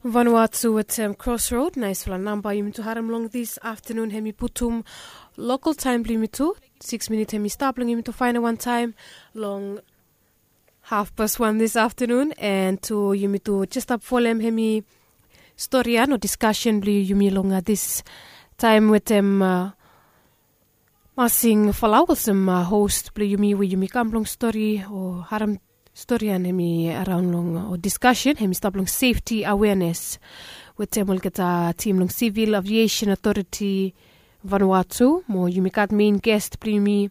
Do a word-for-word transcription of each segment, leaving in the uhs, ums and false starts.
Vanuatu wetem Crossroad, naisfala namba yumi tu harem long this afternoon, hem i putum local taem blong yumi tu. Six minit hem i stap long yumi tu faenem wan taem long half past one this afternoon, and tu yumi tu jes stap folem hem i storian o discussion blong yumi long this taem wetem uh, Masing Falau olsem uh, host blong yumi we yumi kam blong stori o harem storian hem i araon long o discussion hem i stap long safety awareness wetem olgeta tim long Civil Aviation Authority Vanuatu, mo yumi gat main guest blong yumi,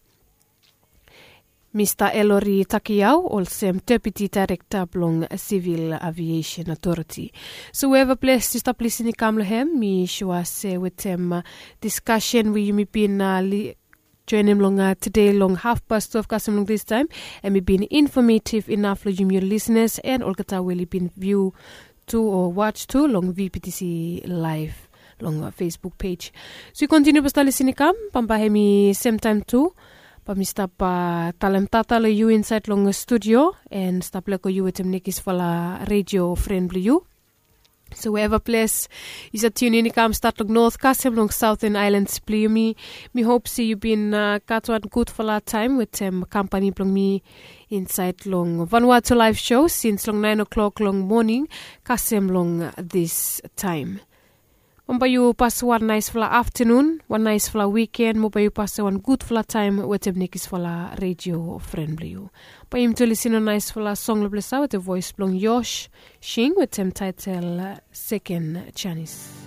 Mista Elori Takiau, olsem Deputy Director blong Civil Aviation Authority. So wherever ples yu stap lisin i kam long hem, mi sua se wetem uh, discussion we yumi bin uh, li- joenem long uh, tede long half past twelve kasem long this time, hem i bin informative enough long yumi ol listeners and olgeta we oli bin view tu o watch tu long V P T C live long uh, Facebook page. So yu kontiniu basta lisin i kam, bambae hem i sem taem tu bae mi stap uh, talem tata long yu insaed long uh, studio and stap lego yu wetem nekisfala radio fren blong yu. So wherever ples yu save tune in i kam, stat long north kasem long southern islands blong yumi. Mi hop se yu bin uh, gat wan gudfala taem wetem kampani blong mi insaed long Vanuatu live show sins long nine o'clock long moning kasem long this taem. Mo bae yu pasem wan naisfala aftenun, wan naisfala wiken, mo bae yu pasem wan gudfala taem wetem nekisfala radio fren blong yu. Bae yumi tu lisin long naisfala song long ples ya wetem voes blong Yosh Shing wetem taetel uh, Second Chance.